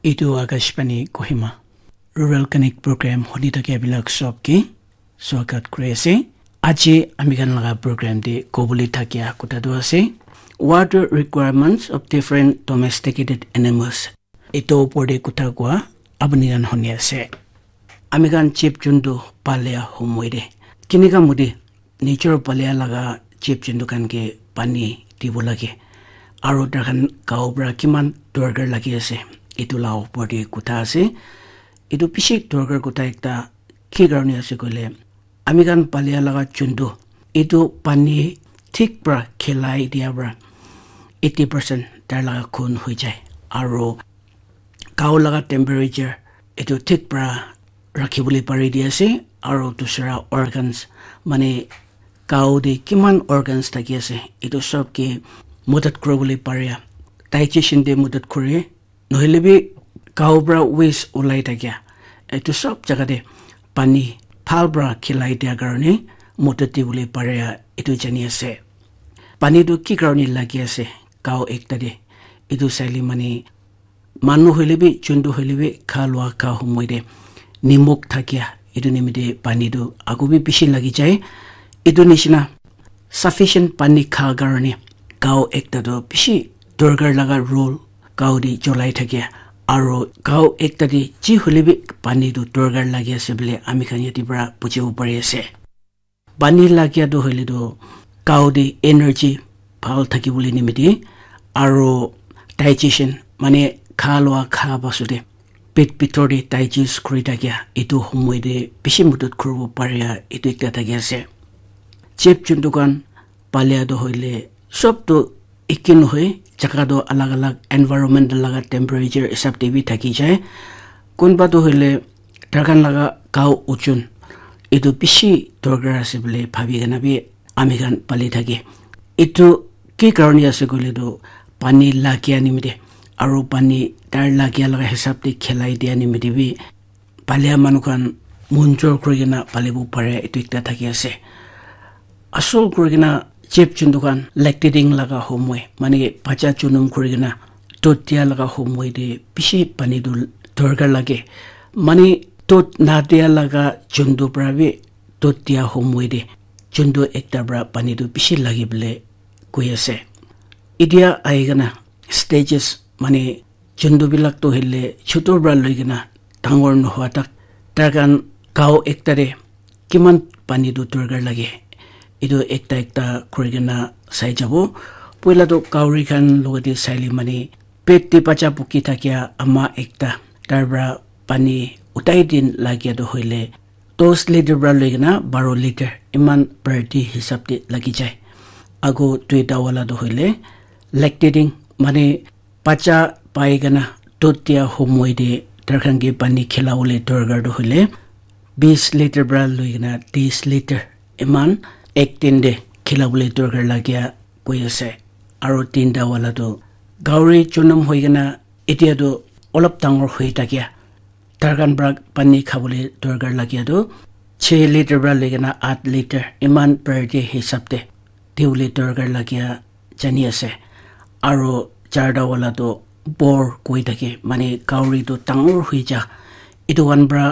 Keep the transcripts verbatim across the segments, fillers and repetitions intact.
Etu Akashvani Kohima Rural Connect Program huni thakia bilak sob ke swagat kuri ase. Aji ami khan laga program te kobole thakia kotha tu ase, water requirements of different domesticated animals. Etu opor te kotha koa apni khan huni ase. Ami khan jeep jontu palia homoi te kinika mudi nature palia laga jeep jontu khan ke pani dibo lage. Aro tai khan gao para kiman dorkar lagi ase, etu la opor te kotha ase. Etu bishi dorkar kotha ekta ki karne ase koile, ami khan palia laga jontu etu pani thik para khilai dia para eighty percent tai laga khun hoi jai. Aro gao laga temperature etu thik para rakhi bole pari di ase. Aro dusra organs, mane gao te kiman organs thaki ase, etu sob ke madad kuri bole pare, digestion te madad kure, nohoile bi gao para waste ulai thakia etu sob jaga te pani bhal para khilai dia karne madad di bole pare, etu jani ase. Pani tu ki karne lagi ase gao ekta te, etu saile mane manu hoile bi, jontu hoile bi, kha lua kha homoi te nimok thakia etu nimite pani tu aku bi bishi lagi jai. Etu nishina sufficient pani kha karne gao ekta tu bishi dorkar laga role gao te cholai thakia. Aro gao ekta te ji hoile bi pani tu dorkar lagi ase bole ami khan yate para bujibo pari ase. Pani lagia tu hoile tu gao te energy bhal thaki bole nimite aro digestion, mane kha lua kha pasute pet bhitor te digest kuri thakia etu homoi te bishi madad kuribo pare, etu ekta thaki ase. Jeep jontu khan palia tu hoile sob tu eke nohoi, jaga tu alag alag, environment laga temperature hisab te bi thaki jai. Kunba tu hoile tai khan laga gao ojon etu bishi dorkar ase bole bhabi kena bi ami khan pali thake. Etu ki karne ase koile tu pani lagia nimite aro pani tai lagia laga hisab te khilai dia nimite bi palia manu khan munjor kuri kena palibo pare, etu ekta thaki ase. Asol kuri kena jeep jontu khan lactating laga homoi, mane bacha jonum kuri kena dud dia laga homoi te bishi pani tu dorkar lage. Mane dud nadia laga jontu para bi dud dia homoi te jontu ekta para pani tu bishi lage bole koi ase. Etia ahi kena stages, mane jontu bilak tu hoile chotu para loi kena dangor nohoa tak tai khan gao ekta te kiman pani tu dorkar lage, etu ekta ekta kuri kena sai jabo. Poila tu gahori khan logate saile mane pet te bacha buki thakia ama ekta tai para pani utai din lagia tu hoile dos litre para loi kena baro litre eman per day hisab te lagi jai. Ago duita wala tu hoile lactating, mane bacha pai kena dud dia homoi te tai khan ke pani khila bole dorkar tu hoile bis litre para loi kena tis litre eman ek din te khila bole dorkar lagia koi ase. Aro tinta wala tu gahori jonum hoi kena etia tu olop dangor hoi thakia tai khan para pani khabole dorkar lagia tu chhe litre para loi kena at litre eman per day hisab te dibole dorkar lagia jani ase. Aro charta wala tu bor koi thake, mane gahori tu dangor hoi ja, etu khan para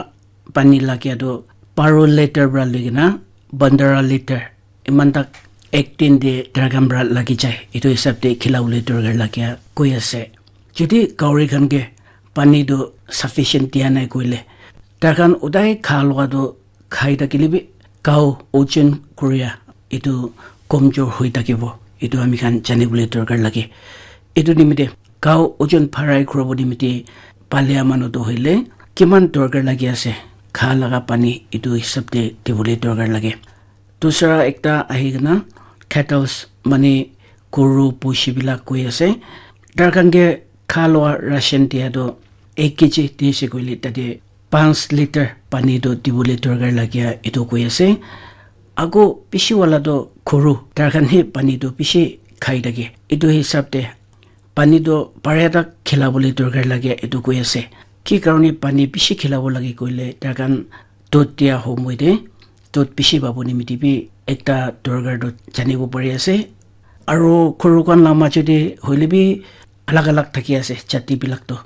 pani lagia tu baro litre para loi kena bandra litre eman tak ek din te tai khan para lagi jai, etu hisab te khila bole dorkar lagia koi ase. Jodi gahori khan ke pani tu sufficient dia nai koile, tai khan udai kha lua tu khai thakile bi gao ojon kuria etu komjor hoi thakibo, etu ami khan jani bole dorkar lage. Etu nimite gao ojon bharai kuribo nimite palia manu tu hoile kiman dorkar lagi ase, kha laga pani etu hisab te dibole dorkar lage. Dusra ekta ahi kena cattles, mane goru pushi bilak koi ase. Tai khan ke kha lua ration dia tu ek kg di ase koile tate panch litre pani tu dibole dorkar lagia etu koi ase. Ago bishi wala tu goru tai khan he pani tu bishi khai thake. Etu hisab te pani tu paria tak khila bole dorkar lagia etu koi ase. Ki karne pani bishi khila bo lage koile tai khan dud dia homoi te dud bishi pabo nimite bi ekta dorkar tu janibo pari ase. Aro goru khan la majo te hoile bi alag alag thaki ase jati bilak tu.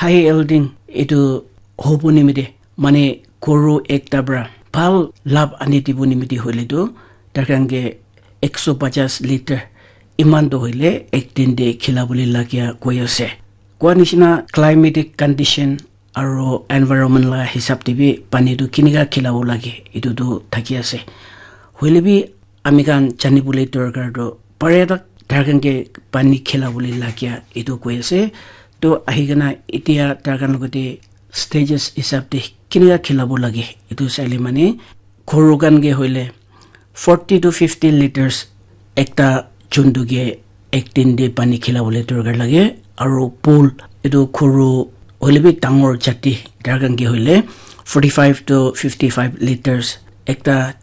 High yielding etu hobo nimite, mane goru ekta para bhal labh ani dibo nimite hoile tu, tar khan ke ekso pachas liter iman to hoile ek din te khila bole lagia koi ase. Koa nishina climatic condition aro environment la hisab te bi pani tu kinika khilabo lage, etu tu thaki ase. Hoile bi ami khan jani bole dorkar tu pare tak tar khan ke pani khilabole lagia etu koi ase. To ahi kena etia tar khan logote stages hisab te kinika khilabo lage, etu saile mane goru khan ke hoile forty to fifty liters ekta juntu ke ek din te pani khilabole dorkar lage. Aro bull, etu goru hoile bi dangor jati, tar khan ke hoile forty five to fifty five liters ekta